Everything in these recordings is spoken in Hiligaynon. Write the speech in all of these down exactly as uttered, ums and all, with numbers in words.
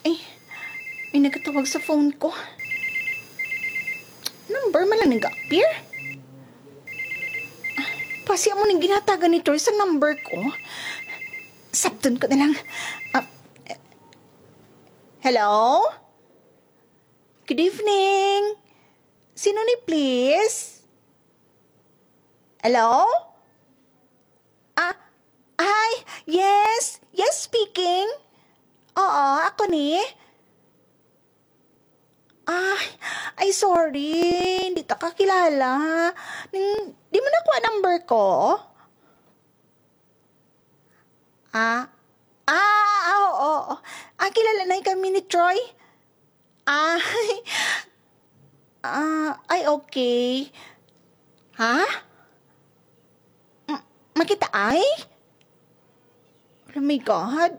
Ay, may nagatawag sa phone ko. Number man lang nag-appear. Basi amo ning ginhatagan ni Troy sa number ko. Sabton ko na lang. Ah, hello? Good evening. Sino ni, please? Hello? Ah, hi. Yes. Yes, speaking. Oo, ako ni. Ay, ay, sorry. Hindi ta kakilala. Ning, di mo nakuha number ko? Ah, ah, ah, oo, oo. Ah, kilala na kami ni Troy. Ah, ah, ay, okay. Ha? M-, makita ay? Oh my God.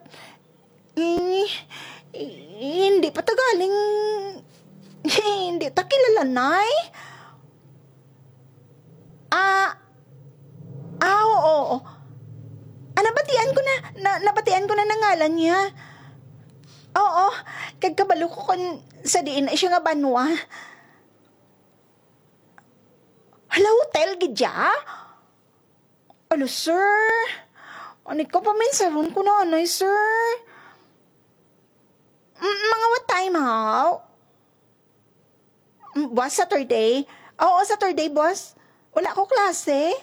Eh, eh, hindi pa ta galing, eh, hindi ta kilala, Nay. Ah, ah, oo, oo. Ah, nabatian ko na, na, nabatian ko na nangalan niya. Oo, kag kabalo ko kon sa diin na siya nga banwa. Hala, hotel gid ya? Alo, sir. Ani ka pa, minsaron ko na, anay, sir. M-, mga what time, haw? Mm, boss, Saturday? Oo, Saturday, boss. Wala ko klase.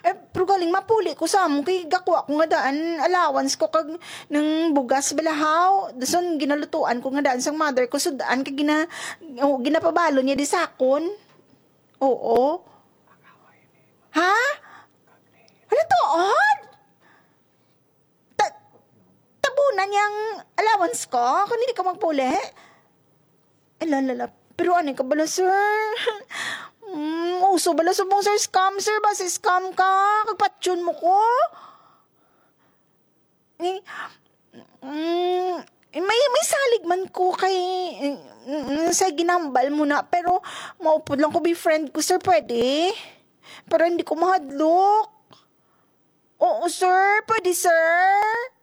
Eh, pero galing mapuli ko sa amo kay gakuha ko nga daan allowance ko kag nang bugas balahaw. Dason ginalutuan ko nga daan sang mother ko sud-an kay gina-, oh, ginapabalo niya di sakon. Oo. Ha? Wala tuod? Ta-, tabunan niyang allowance ko kung hindi ka magpuli? Ay, lalala. Pero ano ka bala, sir? Mm, uso bala subong, sir, scam, sir. Basi scam ka. Kagpatyon mo ko. Eh, mm, may, may salig man ko kay, mm, sa ginambal mo na. Pero maupod lang ko, be friend ko, sir. Pwede? Pero hindi ko mahadlok. Oo, sir. Pwede, sir?